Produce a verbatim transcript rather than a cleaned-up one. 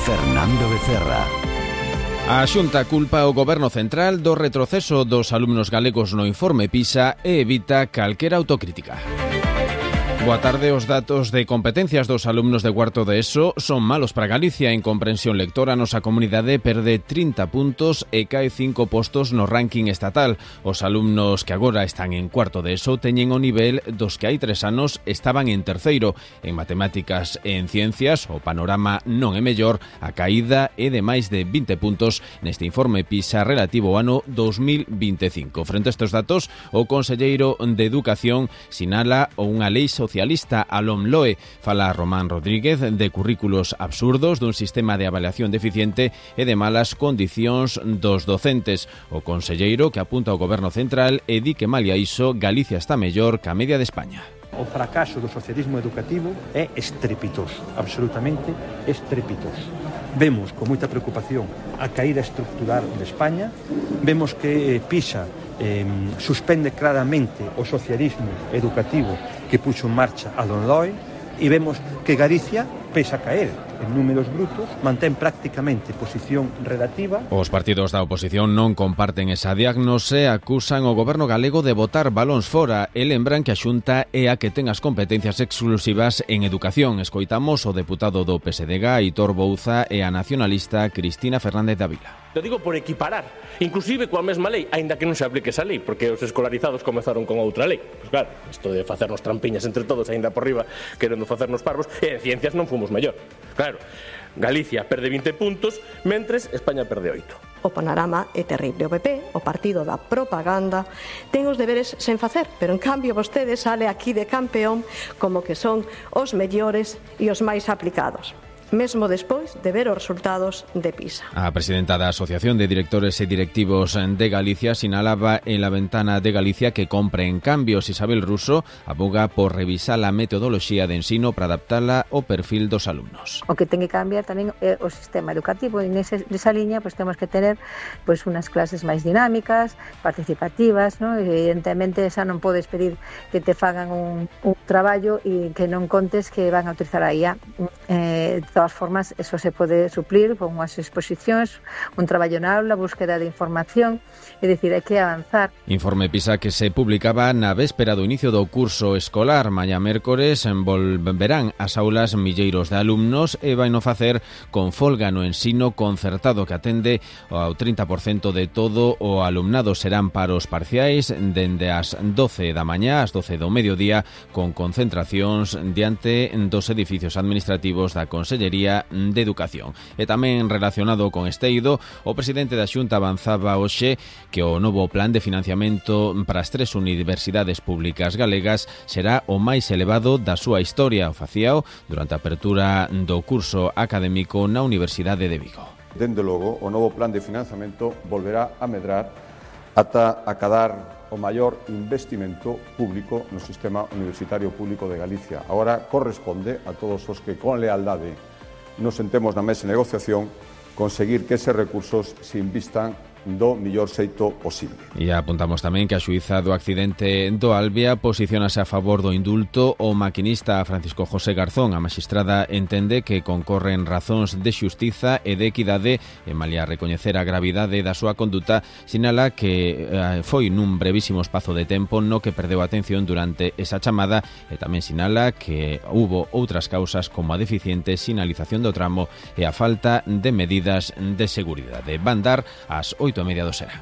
Fernando Becerra. A Xunta culpa o Goberno Central do retroceso dos alumnos galegos no informe PISA e evita calquera autocrítica. Boa tarde. Os datos de competencias dos alumnos de cuarto de ESO son malos para Galicia. En comprensión lectora, a nosa comunidade perde trinta puntos e cae cinco postos no ranking estatal. Os alumnos que agora están en cuarto de ESO teñen o nivel dos que hai tres anos estaban en terceiro. En matemáticas e en ciencias, o panorama non é mellor. A caída é de máis de vinte puntos neste informe PISA relativo ao ano dos mil veinticinco. Frente a estes datos, o conselleiro de Educación sinala unha lei social socialista a LOMLOE. Fala Román Rodríguez de currículos absurdos, dun sistema de avaliación deficiente e de malas condicións dos docentes. O conselleiro que apunta ao Goberno Central e di que malia iso Galicia está mellor que a media de España. O fracaso do socialismo educativo é estrepitoso, absolutamente estrepitoso. Vemos con moita preocupación a caída estructural de España, vemos que PISA eh, suspende claramente o socialismo educativo que puxo en marcha a LOMLOE e vemos que Galicia, pese a caer en números brutos, mantén prácticamente posición relativa. Os partidos da oposición non comparten esa diagnose, acusan o goberno galego de botar balóns fora e lembran que a Xunta é a que ten as competencias exclusivas en educación. Escoitamos o deputado do P S D G, Aitor Bouza, e a nacionalista Cristina Fernández de Ávila. Lo digo por equiparar, inclusive coa mesma lei, aínda que non se aplique esa lei, porque os escolarizados comezaron con outra lei. Pois claro, isto de facernos trampiñas entre todos, aínda por riba, querendo facernos parvos, e en ciencias non fomos mellor. Claro, Galicia perde vinte puntos, mentres España perde oito. O panorama é terrible. O P P, o partido da propaganda, ten os deberes sen facer, pero en cambio vostede sale aquí de campeón como que son os mellores e os máis aplicados, mesmo despois de ver os resultados de PISA. A presidenta da Asociación de Directores e Directivos de Galicia sinalaba en La Ventana de Galicia que compre en cambios. Isabel Russo aboga por revisar a metodoloxía de ensino para adaptala ao perfil dos alumnos. O que ten que cambiar tamén é o sistema educativo. En ese, nesa liña pues, temos que tener pues, unas clases máis dinámicas, participativas, ¿no? Evidentemente xa non podes pedir que te fagan un, un traballo e que non contes que van a utilizar a I A. Eh, De todas formas, eso se pode suplir con unhas exposicións, un traballo na aula, búsqueda de información, é dicir, hai que avanzar. Informe PISA que se publicaba na véspera do inicio do curso escolar. Mañá mércores volverán ás aulas milleiros de alumnos e vai no facer con folga no ensino concertado que atende ao trinta por cento de todo o alumnado. Serán paros parciais dende as doce da mañá ás doce do mediodía con concentracións diante dos edificios administrativos da Consellería de Educación. E tamén relacionado con este eido, o presidente da Xunta avanzaba hoxe que o novo plan de financiamento para as tres universidades públicas galegas será o máis elevado da súa historia. O facíao durante a apertura do curso académico na Universidade de Vigo. Dende logo, o novo plan de financiamento volverá a medrar ata acadar o maior investimento público no sistema universitario público de Galicia. Agora corresponde a todos os que con lealdade nos sentemos na mesa de negociación conseguir que eses recursos se invistan do millor xeito posible. E apuntamos tamén que a xuíza do accidente do Albia posicionase a favor do indulto o maquinista Francisco José Garzón. A maxistrada entende que concorren razóns de xustiza e de equidade e malia recoñecer a gravidade da súa conduta, sinala que eh, foi nun brevísimo espazo de tempo no que perdeu a atención durante esa chamada e tamén sinala que hubo outras causas como a deficiente sinalización do tramo e a falta de medidas de seguridade. Van dar as oito e media do será.